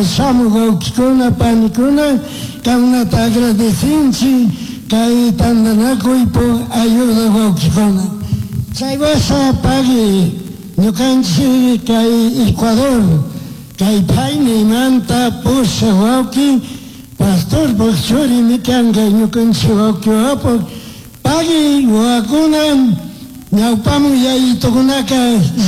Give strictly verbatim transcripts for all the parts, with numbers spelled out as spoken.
Shamuq wawqikuna panikuna kankunata agradecinchik kay tantanakuypuk ayuda wawqikuna. Chay washa pagui ñukanchik kay Ecuador kay phaynimanta pushak wawqi pastorpuk churimi kanka ñukanchik wawqi wawapuk pagui wawakuna ñawpamun yayitukunaka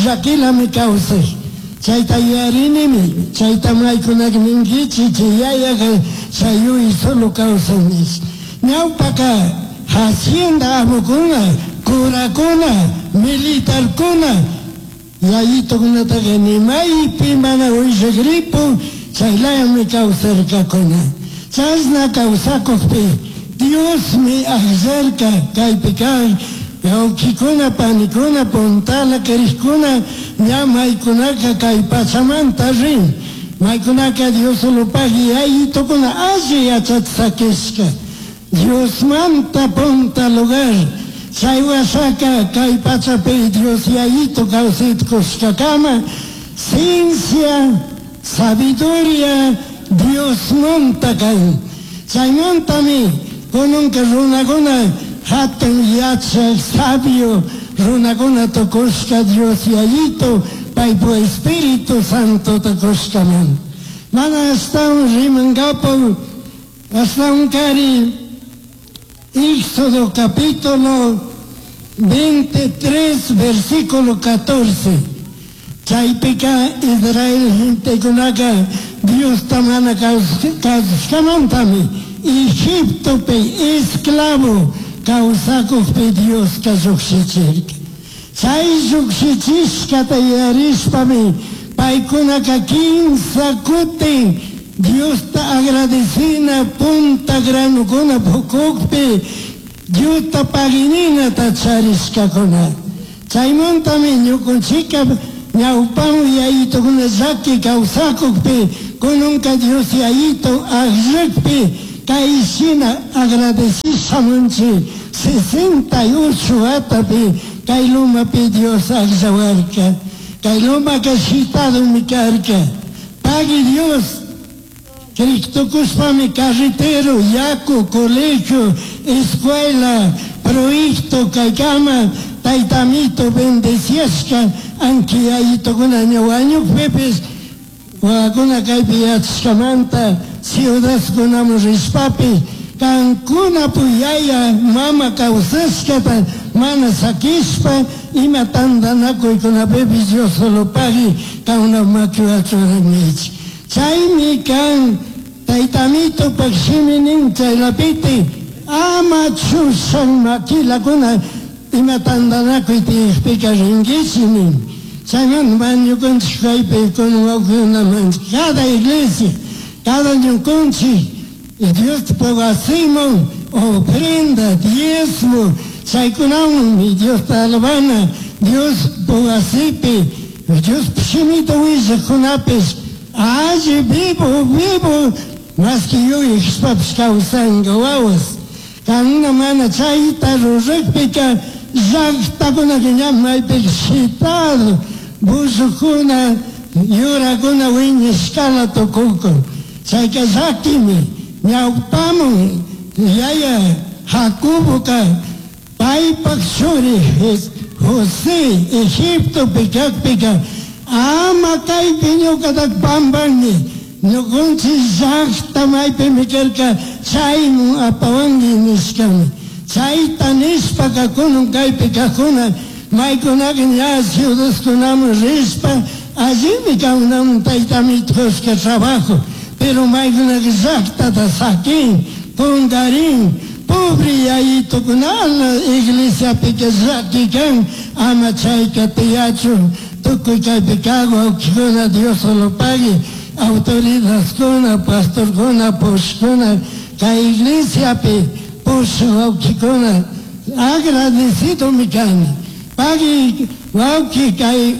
llakilami kawsay. Chayta yuyarinimi, chayta maykunaka ninkichik chay yayaka chay yuy solo kawsan nish. Ñawpaka hacienda amukuna, curakuna, militarkuna yayitukunataka ni maypi mana willakripu chaylayami kawsarkakuna. Chashna kawsakukpi Diosmi akllarka kaypi kaq wawqikuna panikuna puntala kirikkuna ña maykunaka kay pachamanta rin. Maykunaka Dioslopaq yayitukuna alli yachachisakishka. Diosmanta punta lugar. Chay wasaka kay pachapi Dios yayitu kawsaykushkakama ciencia, sabiduría Diosmanta kan. Chaymantami kunanka runakuna hatun yachak sabio runakuna tukushka Dios yayitu paypu Espíritu Santo tukushkaman. Mana ashtawan rimankapu ashtawan kari Éxodo capítulo veintitrés versículo catorce. Chaypika Israel gentekunaka Diosta mana kasushkamantami Egiptopi esclavo kawsakukpi Dioska llukshichirka. Chay llukshichishkata yuyarishpami paykunaka kimsa kutin Diosta agradecina punta granukuna pukukpi Diosta pagininata charishkakuna. Chaymantami ñukunchika ñawpamu yayitukuna llaki kawsakukpi kunanka Dios yayitu akllakpi kay shina agradechishamunchik sesenta y ocho watapi kay lumapi Dios akllawarka. Kay lumaka shitadumi karka. Pagui Dios Cristokushpami carretero, yaku, colegio, escuela, proyecto kaykama taytamito bendeciashka anki yayitukuna ña wañukpipis wawakuna kaypi yachashkamanta ciudadkunaman rishpapi kankuna puyaya mama kawsashkata mana sakishpa ima tantanakuykunapipis Dios solo pagui kankuna makiwan churanichik. Chaymi kan taytamitupak shimi nin chaylapiti ama chushan makilakuna ima tantanakuy tiyakpika rinkichik nin. Chaymanta ñukanchik kaypi kunan wawqikunaman cada iglesia, cada ñukanchik Diosta wasiman ofrenda, diezmo, chaykunawanmi Diosta alabana, Dios wasipi, Dios shimita willaqkunapis alli vivo, vivo, maski yuyashpapish kawsanka wawas. Kankuna mana chayta rurakpika llaqtakunaka ña maypika shitado, bullukuna, yurakuna wiñashkala tukukun. Chayka llakimi ñawpamun yaya Jacoboka paypak churi José Egiptopi kakpika ama kaypi ñukatak pampanmi ñukanchik llaqta maypimi karka chaymun apawanki nishkami. Chayta nishpaka kunan kaypi kaqkuna maykunaka ña ciudadkunaman rishpa allimi kankunaman taytamito kushka trabajo, pero maykunaka llaqtata sakin, kunkarin, pobre yayitukunala iglesiapika llaki kan ama chayka tiyachun tukuy kaypi kaq wawqikuna Dios solo pagui autoridadkuna, pastorkuna, pushkuna kay iglesiapi pushak wawqikuna agradecidomi kani. Pagui wawqi kay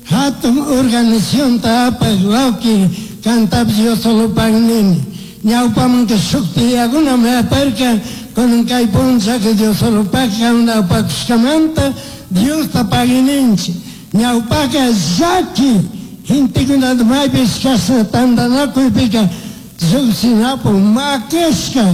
hatun organizacionta apaq wawqi kantapish Dios solo pagui nini. Ñawpamanka shuk tiyakunami aparka kunan kay punchaka Dios solo pagui kankuna apakushkamanta Diosta pagui ninchik. Ñawpaka llaki Gentekunata maypish chashna tantanakuypika llukshinapu makashka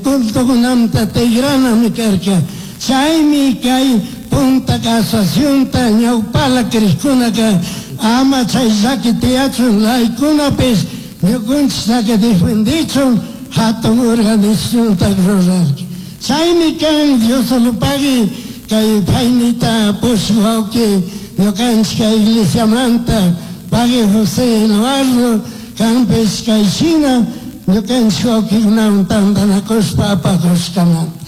cultokunamanta tigranami karka. Chaymi kay punta asociacionta ñawpala crishkunaka ama chay llaki tiyachun laykunapish ñukunchiktaka defendichun hatun organizacionta rurarka. Chaymi kan Dios pagui kay paynita pushuk wawki ñukanchik kay iglesiamanta pagui José Eduardo kanpish kay shina ñukanchik wawkikunawan tantanakushpa apakushkamanta.